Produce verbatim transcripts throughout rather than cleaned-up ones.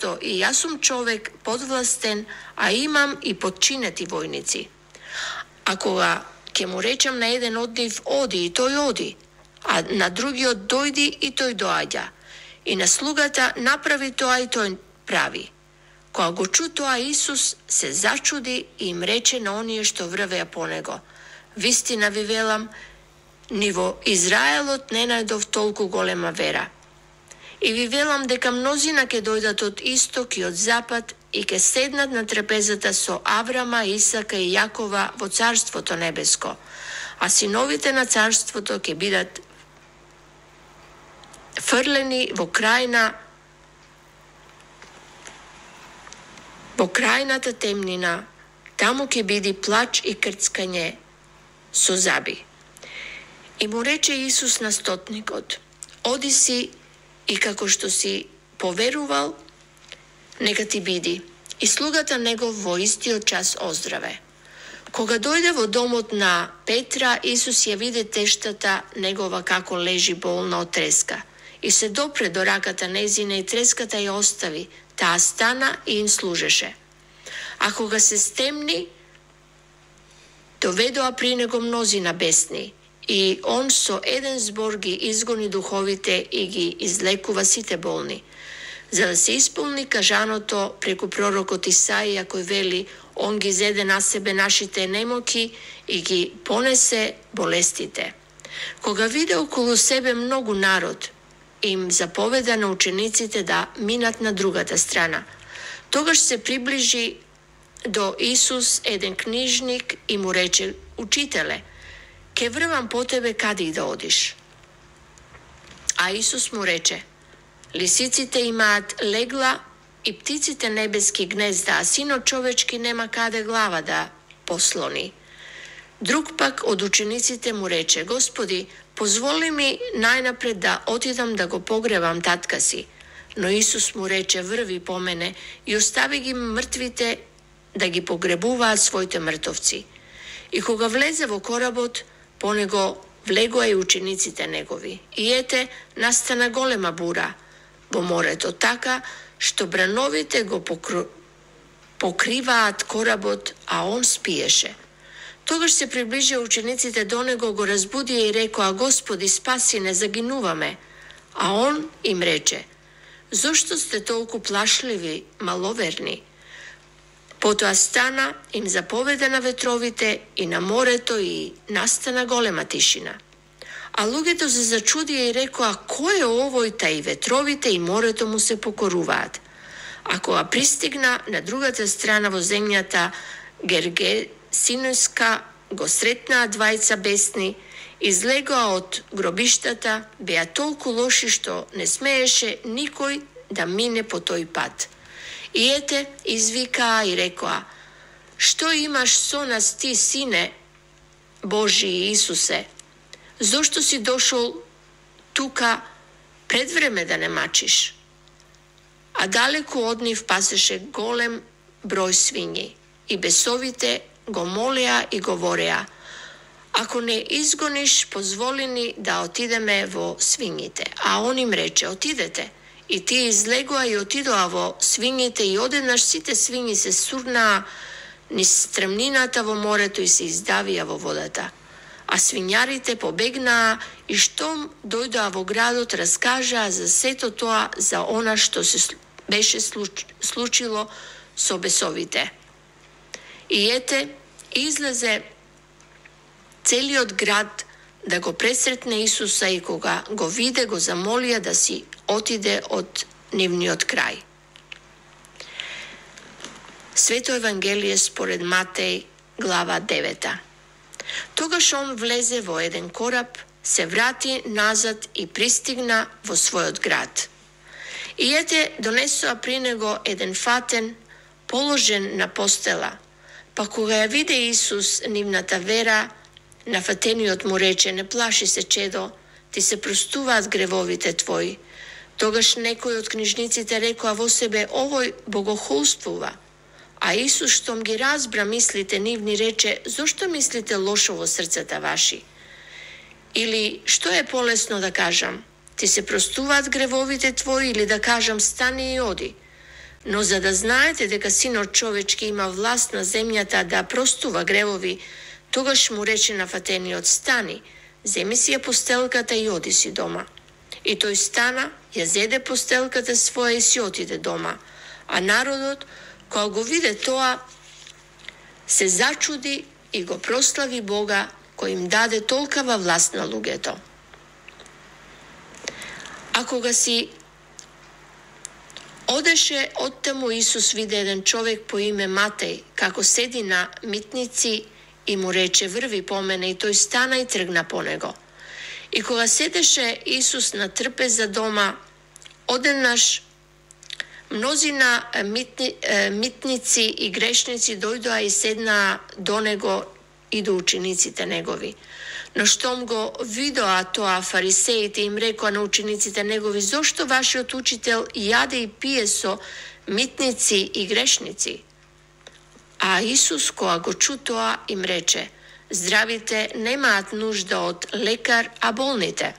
место и јас сум човек подвластен, а имам и подчинети војници. А кога ќе му речам на еден од нив оди и тој оди, а на другиот дојди и тој доаѓа, и на слугата направи тоа и тој прави. Кога го чу тоа, Исус се зачуди и им рече на оние што врвеа по него: вистина ви велам, ни во Израелот не најдов толку голема вера. И ви велам дека мнозина ќе дојдат од исток и од запад и ќе седнат на трапезата со Аврама, Исака и Јакова во Царството небеско, а синовите на Царството ќе бидат фрлени во крајна во крајната темнина, таму ќе биде плач и крцкање со заби. И му рече Исус на стотникот: оди си и како што си поверувал, нека ти биди. И слугата негов во истиот час оздраве. Кога дојде во домот на Петра, Исус ја виде тештата негова како лежи болна од треска. И се допре до раката незина и треската ја остави, таа стана и им служеше. А кога се стемни, доведоа при него мнозина бесни, и он со еден збор ги изгони духовите и ги излекува сите болни, за да се исполни кажаното преку пророкот Исаија, кој вели: он ги зеде на себе нашите немоки и ги понесе болестите. Кога виде околу себе многу народ, им заповеда на учениците да минат на другата страна. Тогаш се приближи до Исус еден книжник и му рече: учителе, ке врвам по тебе каде и да одиш. А Исус му рече: лисиците имаат легла и птиците небески гнезда, а синот човечки нема каде глава да послони. Друг пак од учениците му рече: Господи, позволи ми најнапред да отидам да го погребам татка си. Но Исус му рече: врви по мене и остави ги мртвите да ги погребуваат своите мртовци. И кога влезе во коработ, по него влегоа и учениците негови. И ете, настана голема бура во морето, така што брановите го покру... покриваат коработ, а он спиеше. Тогаш се приближија учениците до него, го разбудија и рекоа: Господи, спаси, не загинуваме. А он им рече: зошто сте толку плашливи, маловерни? Потоа стана, им заповеда на ветровите и на морето и настана голема тишина. А луѓето се зачудија и рекоа: кој е овој, та и ветровите и морето му се покоруваат? А кога пристигна на другата страна во земјата Гергесинска, го сретнаа двајца бесни, излегоа од гробиштата, беа толку лоши што не смееше никој да мине по тој пат. И ете, извикаа и рекоа: што имаш со нас ти, сине Божи Исусе? Зошто си дошол тука пред време да не мачиш? А далеку од нив пасеше голем број свињи, и бесовите го молеа и говореа: ако не изгониш, позволи ни да отидеме во свињите. А он им рече: отидете. И тие излегоа и отидоа во свињите, и одеднаш сите свињи се сурнаа низ стремнината во морето и се издавија во водата. А свињарите побегнаа и штом дојдоа во градот, раскажаа за сето тоа, за она што се беше случило со бесовите. И ете, излезе целиот град да го пресретне Исуса, и кога го виде, го замолија да си отиде од нивниот крај. Свето Евангелие според Матеј, глава девета. Тогаш он влезе во еден кораб, се врати назад и пристигна во својот град. И ете, донесоа при него еден фатен, положен на постела. Па кога ја виде Исус нивната вера, на фатениот му рече: не плаши се, чедо, ти се простуваат гревовите твои. Тогаш некој од книжниците рекоа во себе: овој богохулствува. А Исус, штом ги разбра мислите нивни, рече: зошто мислите лошо во срцата ваши? Или што е полесно да кажам: ти се простуваат гревовите твои, или да кажам: стани и оди? Но за да знаете дека Синот човечки има власт на земјата да простува гревови, тогаш му рече на фатениот: стани, земи си ја постелката и оди си дома. И тој стана, ја зеде постелката своја и си отиде дома. А народот, кога го виде тоа, се зачуди и го прослави Бога, кој им даде толкава власт на луѓето. А кога си одеше оттаму, Исус виде еден човек по име Матеј, како седи на митници и му рече: врви по мене, и тој стана и тргна по него. И кога седеше Исус на трпеза дома, одеднаш мнозина митни, митници и грешници дојдоа и седнаа до него и до учениците негови. Но штом го видоа тоа, фарисеите им рекоа на учениците негови: зошто вашиот учител јаде и пие со митници и грешници? А Исус, кога го чу тоа, им рече: здравите немаат нужда од лекар, а болните.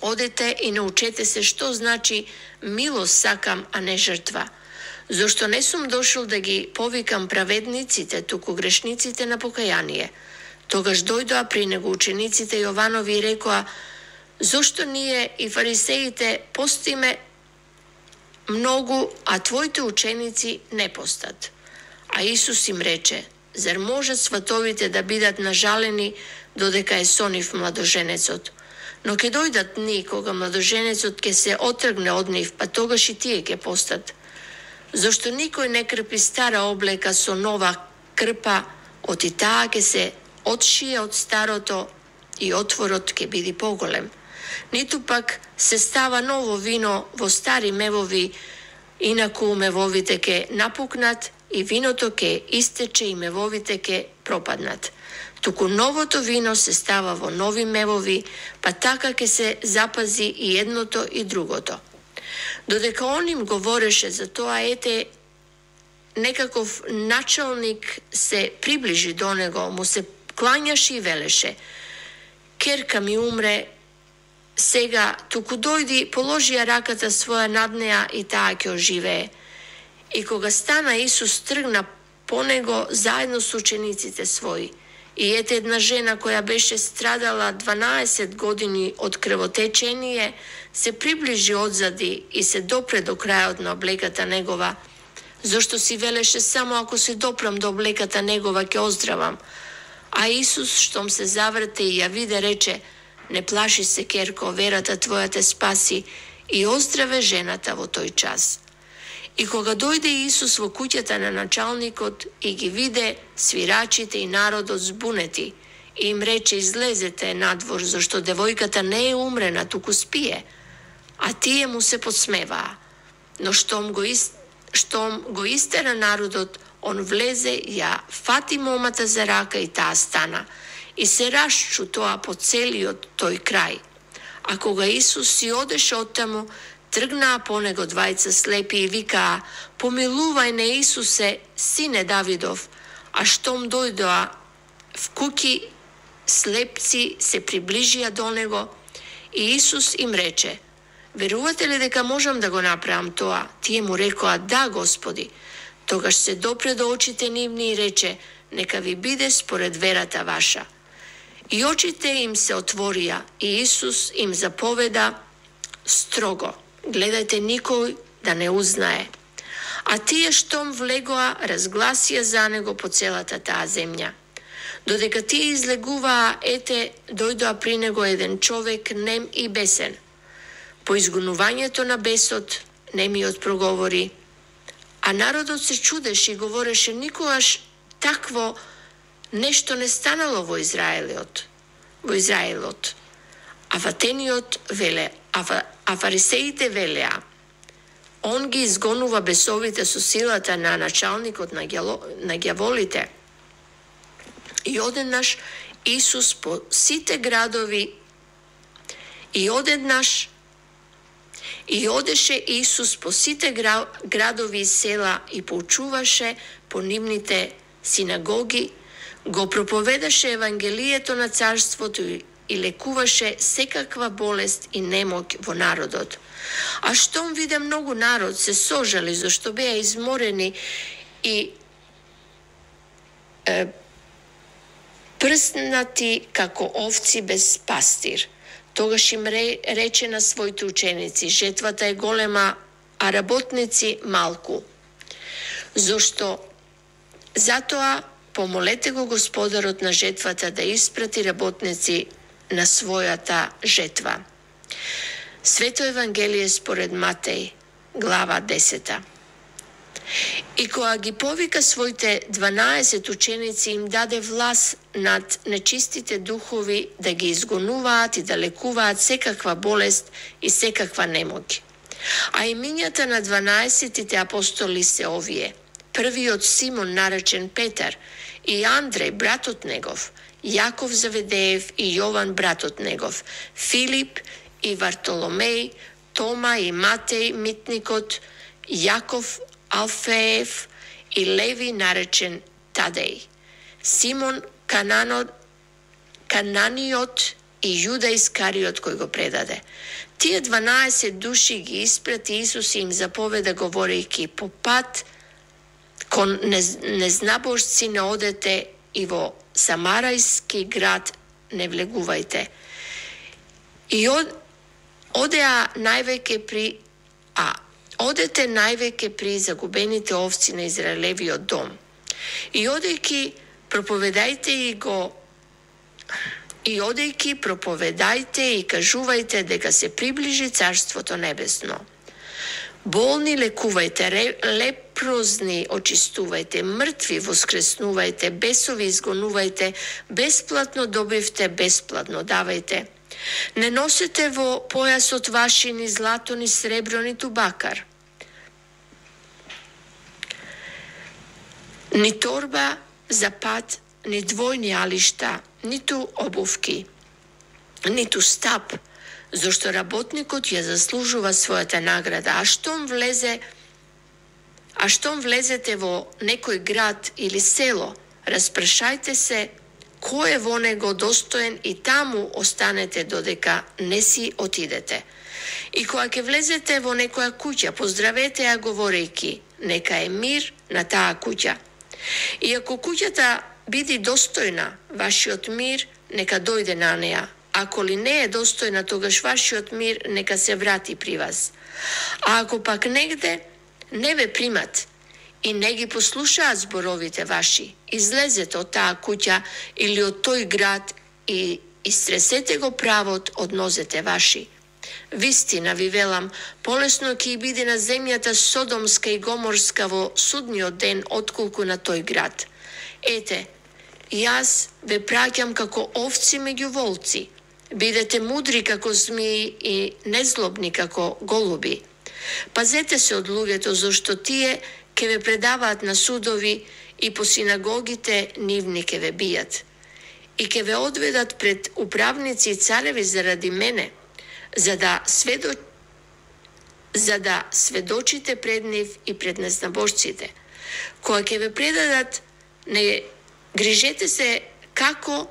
Одете и научете се што значи милост сакам, а не жртва. Зошто не сум дошол да ги повикам праведниците, туку грешниците на покаяние. Тогаш дојдоа при него учениците Јованови и рекоа: зошто ние и фарисеите постиме многу, а твоите ученици не постат? А Исус им рече: зар можат сватовите да бидат нажалени додека е со нив младоженецот? Но ќе дојдат дни кога младоженецот ќе се отргне од нив, па тогаш и тие ќе постат. Зошто никој не крпи стара облека со нова крпа, оти таа ќе се отшие од старото и отворот ќе биде поголем. Ниту пак се става ново вино во стари мевови, инаку мевовите ќе напукнат и виното ќе истече и мевовите ќе пропаднат. Туку новото вино се става во нови мевови, па така ќе се запази и едното и другото. Додека он им говореше за тоа, ете, некаков началник се приближи до него, му се клањаше и велеше: керка ми умре, сега туку дојди, положи ја раката своја над неа и таа ќе оживее. И кога стана Исус, тргна по него заедно со учениците своји. И ете, една жена која беше страдала дванаесет години од крвотечение, се приближи одзади и се допре до крајот на облеката негова. Зошто си велеше: само ако се допрам до облеката негова ќе оздравам. А Исус, штом се заврте и ја виде, рече: не плаши се, керко, верата твоја те спаси, и оздраве жената во тој час. И кога дојде Исус во куќата на началникот и ги виде свирачите и народот збунети, и им рече: излезете надвор, зашто девојката не е умрена, туку спие. А тие му се подсмеваа. Но штом го, из... штом го истера народот, он влезе, ја фати момата за рака и таа стана. И се расчу тоа по целиот тој крај. А кога Исус си одеше оттаму, тргнаа по него двајца слепи и викаа: помилувај не, Исусе, сине Давидов. А штом дојдоа в куќи, слепци се приближија до него и Исус им рече: верувате ли дека можам да го направам тоа? Тие му рекоа: да, Господи. Тогаш се допре до очите нивни и рече: нека ви биде според верата ваша. И очите им се отворија и Исус им заповеда строго: гледајте никој да не узнае. А тие штом влегоа, разгласија за него по целата таа земја. Додека тие излегуваа, ете, дојдоа при него еден човек нем и бесен. По изгонувањето на бесот, немиот проговори, а народот се чудеше и говореше: никогаш такво нешто не станало во Израелот. Во Израелот. А фатениот веле, а, а фарисеите велеа: он ги изгонува бесовите со силата на началникот на, гјало, на ѓаволите. И одеднаш Исус по сите градови и одеднаш И одеше Исус по сите градови и села и поучуваше по нивните синагоги, го проповедаше Евангелието на царството и лекуваше секаква болест и немоќ во народот. А штом виде многу народ, се сожали зашто беа изморени и е, прснати како овци без пастир. Тогаш им рече на своите ученици: жетвата е голема, а работници малку. Зошто? Затоа помолете го Господарот на жетвата да испрати работници на својата жетва. Свето Евангелие според Матеј, глава десета. И кога ги повика своите дванаесет ученици, им даде власт над нечистите духови да ги изгонуваат и да лекуваат секаква болест и секаква немоќ. А имињата на дванаесетите апостоли се овие: првиот Симон, наречен Петар, и Андреј, братот негов, Јаков Заведеев и Јован, братот негов, Филип и Вартоломеј, Тома и Матеј, митникот, Јаков Алфеев и Леви, наречен Тадеј, Симон Кананот, Кананиот и Јуда Искариот кој го предаде. Тие дванаесет души ги испрати Исус и им заповеда говорејќи: по пат кон незнабожци не одете и во Самарајски град не влегувајте. И од, одеа највеќе при а одете највеќе при загубените овци на Израелевиот дом. И одејќи проповедајте и го и одејќи проповедајте и кажувајте дека се приближи Царството небесно. Болни лекувајте, лепрозни очистувајте, мртви воскреснувајте, бесови изгонувајте, бесплатно добивте, бесплатно давајте. Не носете во појасот ваши ни злато, ни сребро, ниту бакар, ни торба за пат, ни двојни алишта, ниту обувки, ниту стап, зашто работникот ја заслужува својата награда. А штом влезе, а штом влезете во некој град или село, распрашајте се кој е во него достоен и таму останете додека не си отидете. И кога ќе влезете во некоја куќа, поздравете ја говорејќи: нека е мир на таа куќа. И ако куќата биде достојна, вашиот мир нека дојде на неа. Ако ли не е достојна, тогаш вашиот мир нека се врати при вас. А ако пак негде не ве примат и не ги послушаат зборовите ваши, излезете од таа куќа или од тој град и истресете го правот од нозете ваши. Вистина ви велам, полесно ќе биде на земјата Содомска и Гоморска во судниот ден отколку на тој град. Ете, јас ве праќам како овци меѓу волци. Бидете мудри како змии и незлобни како голуби. Пазете се од луѓето, зашто тие ќе ве предаваат на судови и по синагогите нивни ќе ве бијат. И ќе ве одведат пред управници и цареви заради мене, за да сведо... за да сведочите пред нив и пред незнабожците. Кога ќе ве предадат, не грижете се како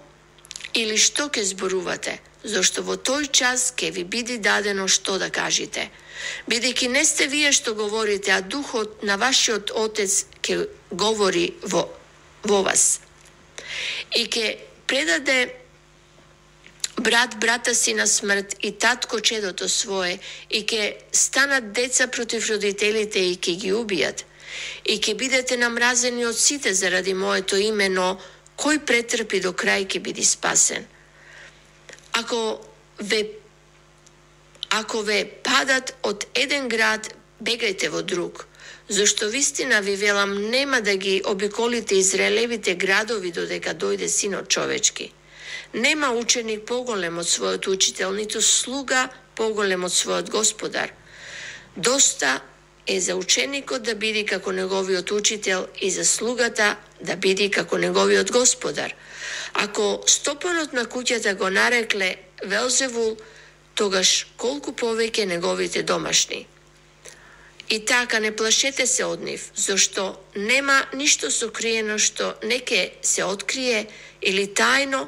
или што ќе зборувате, зашто во тој час ќе ви биде дадено што да кажете. Бидејќи не сте вие што говорите, а Духот на вашиот Отец ќе говори во, во вас. И ќе предаде брат брата си на смрт и татко чедото свое, и ќе станат деца против родителите и ќе ги убијат. И ќе бидете намразени од сите заради моето име, но кој претрпи до крај ќе биде спасен. Ако ве ако ве падат од еден град, бегајте во друг, зашто вистина ви велам, нема да ги обиколите Израелевите градови додека дојде Синот човечки. Нема ученик поголем од својот учител, ниту слуга поголем од својот господар. Доста е за ученикот да биде како неговиот учител и за слугата да биде како неговиот господар. Ако стопанот на куќата го нарекле Велзевул, тогаш колку повеќе неговите домашни. И така не плашете се од нив, зашто нема ништо сокриено што не ќе се открие или тајно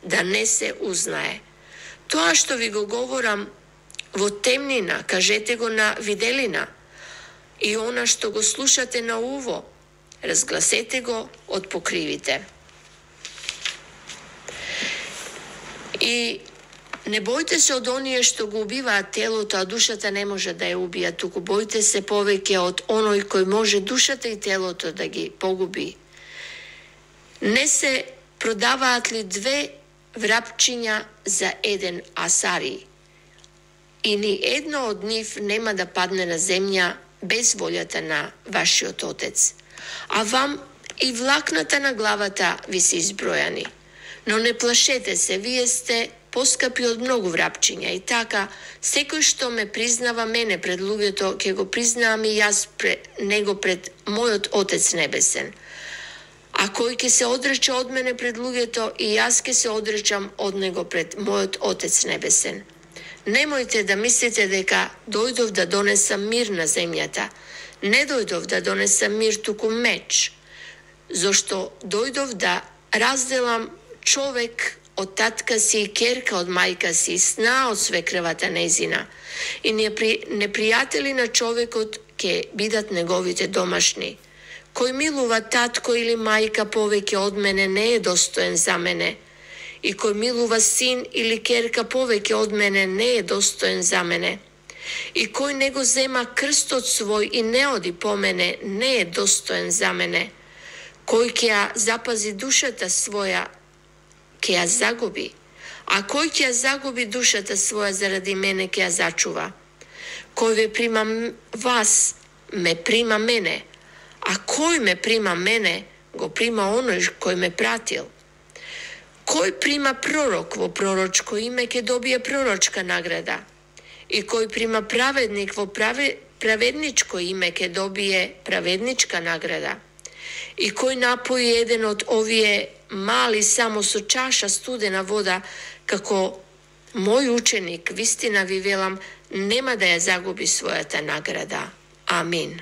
да не се узнае. Тоа што ви го говорам во темнина, кажете го на виделина. И она што го слушате на уво, разгласете го од покривите. И не бојте се од оние што го убиваат телото, а душата не може да ја убија, туку бојте се повеќе од оној кој може душата и телото да ги погуби. Не се продаваат ли две врапчиња за еден асари? И ни едно од нив нема да падне на земја без волјата на вашиот Отец. А вам и влакната на главата ви се избројани. Но не плашете се, вие сте поскапи од многу врапчиња. И така, секој што ме признава мене пред луѓето, ќе го признавам и јас пред него пред мојот Отец небесен. А кој ќе се одрече од мене пред луѓето, и јас ќе се одречам од него пред мојот Отец небесен. Немојте да мислите дека дојдов да донесам мир на земјата. Не дојдов да донесам мир, туку меч. Зошто дојдов да разделам човек од татка си и керка од мајка си, сна од свекрвата незина. И непријатели на човекот ќе бидат неговите домашни. Кој милува татко или мајка повеќе од мене не е достоен за мене. И кој милува син или керка повеќе од мене не е достоен за мене. И кој не го зема крстот свој и не оди по мене не е достоен за мене. Кој ќе ја запази душата своја, ќе ја загуби, а кој ќе ја загуби душата своја заради мене, ќе ја зачува. Кој ве прима вас, ме прима мене, а кој ме прима мене, го прима оној кој ме пратил. Кој прима пророк во пророчко име, ќе добие пророчка награда. И кој прима праведник во праве, праведничко име, ќе добие праведничка награда. И кој напои еден од овие мали само со чаша студена вода, како мој ученик, вистина ви велам, нема да ја загуби својата награда. Амин.